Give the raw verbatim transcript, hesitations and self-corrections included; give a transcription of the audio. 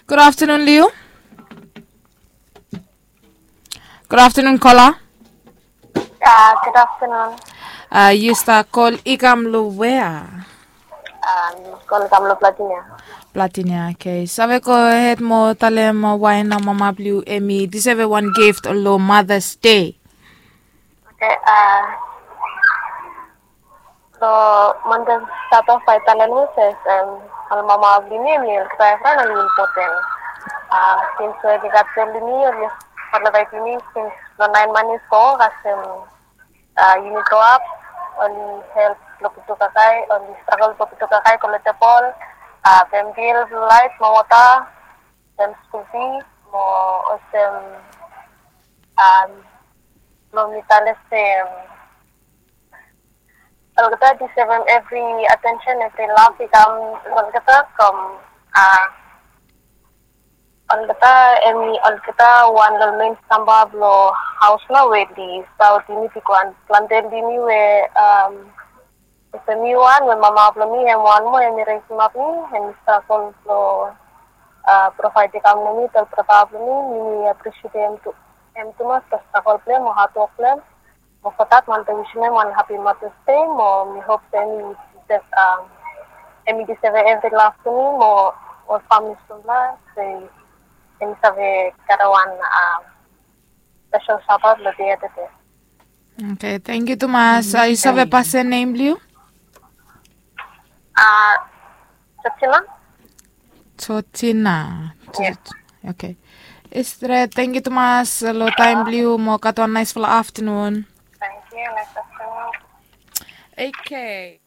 Good afternoon, Liu. Good afternoon, Kola. Ah, good afternoon. Ah, yu stap kol i kam lo wea? Ah, kol i kam lo Platinia. Platinia, okay. Save go ahead mo talem why na mama blong yu hemi deserve wan gift lo Mother's Day. Okay, ah, so Monday start off by talem se, em, ol mama blong mi, mi olgeta evriwan oli impoten. Ah, sins we oli gat bel long mi, oli provide long mi sins lo naen manis go, kasem, ah, yumi grow up, oli help lo putu kakae, oli stragol lo putu kakae go lo tebol, ah, pem bil, laet mo wota, pem skul fis, mo olsem, ah, lo mi talem se, olgeta i deserve evri atensen, evri lav i kam lo olgeta from, ah, olgeta, hemi olgeta wan lo ol men stamba blo haos nao we oli stap wetem yumi bigwan, plante long yumi we, am, olsem mi wan we mama blo mi hem wan moa hemi resemap mi, hemi stragol blo, ah, provaed i kam lo mi, lo ol brata blo mi, mi apresietem hem tu, hem tumas lo stragol blo hem o hadwok blo hem. Mo for that, mi wantem wisim hem wan happy Mother's Day, mo mi hop se hemi deserve, um, hemi deserve evri lav blo mi mo ol famili stamba, se hemi save karem wan, um, spesel shout out lo dei tede. Okay, tangkiu tumas. Ah, yu save pasem nem blo yu? Ah, Georgina. Georgina. Yes. Okay. Esther, tangkiu tumas lo taem blo yu, mo gat wan naesfala aftenun. Tangkiu, naes aftenun. Okay.